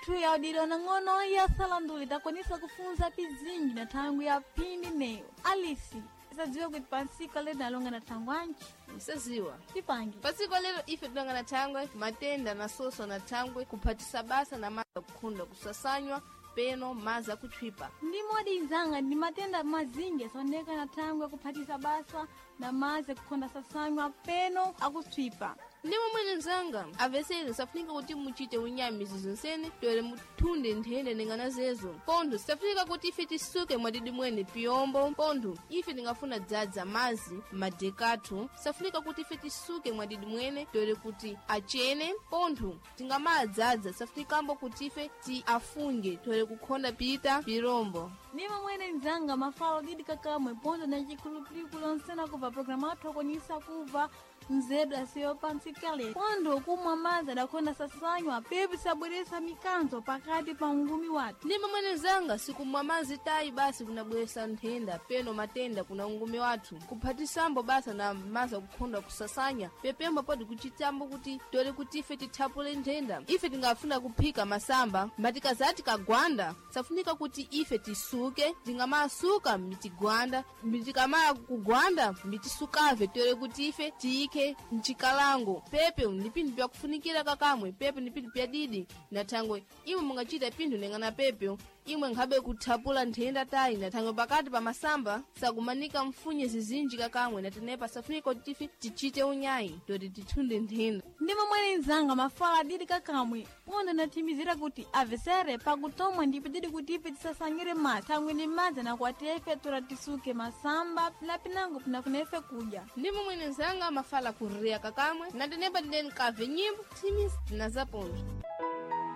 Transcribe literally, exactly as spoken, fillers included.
athu yaudilwa nang'ono ya salanduli takwanisa kufunza pizinji na thangwi ya phindi neyo alisi isadziwe kuti pansika lero nalonga na thangwi anji Msaziwa. tipange Pasiko lero ife tilonga na thangwe matenda na soso na thangwe kuphatisa basa na maza kukhunda kusasanywa peno maza kutchwipa. Ndi modi nzanga ndi matenda mazinji asaoneka na thangwi akuphatisa basa na mazi akukhonda sasanywa peno akutswipa. Ndi momwene mzanga avesere safunika kuti muchite unyamizi zonsene toere muthunde nthenda nengana zezo pontho safunika kuti ife tisuke mwadidi mwene piyombo pontho ife tingafuna dzadza mazi madekathu safunika kuti ife tisuke mwadidi mwene toere kuti achene pontho tingamadzadza safunikambo kuti ife ti afunge toere kukhonda pita pirombo. Ndi momwene nzanga mafalo didi kakamwe pontho na chikhulupiriko lonsena kubva programu athu akwanisa kubva nzedu asiyo pantsikale pontho kumwa madzi adakhonda sasanywa pepi sabweresa mikanzo pakati pa ungumi wathu. Ndi momwene mzanga sikumwa mazi tayi basi kunabweresa nthenda peno matenda kuna ungumi wathu kuphatisambo basa na mazi akukhonda kusasanya pepembo podi kuchitambo kuti tole kuti ife tithapule nthenda ife tingafuna kuphika masamba matikazati kagwanda safunika kuti ife tisuke tingamasuka mitigwanda mitikamaya kugwanda mitisukave tole kuti ife tiyike mchikalango pepe ndi pinthu pyakufunikira kakamwe pepe ndi pinthu pyadidi na thangwe imwe mungachita pinthu nengana pepe imwe nkhabe kuthapula nthenda tayi na thangwe pakati pa masamba sakumanika mfunye zizinji kakamwe na tenepa safunika kuti ife tichite unyayi toti tithunde nthenda. Ndi momwene nzanga mafala adidi kakamwe pontho nathimizira kuti avesere pakutomwa ndipo didi kuti ife tisasanyire madzi thangwi ndi madzi anakwatiya ife tora tisuke masamba na pinango pinafuna ife kudya. Ndi momwene nzanga mafala kurira kakamwe na tenepa tindeni kave nyimbo thimisi na zapontho.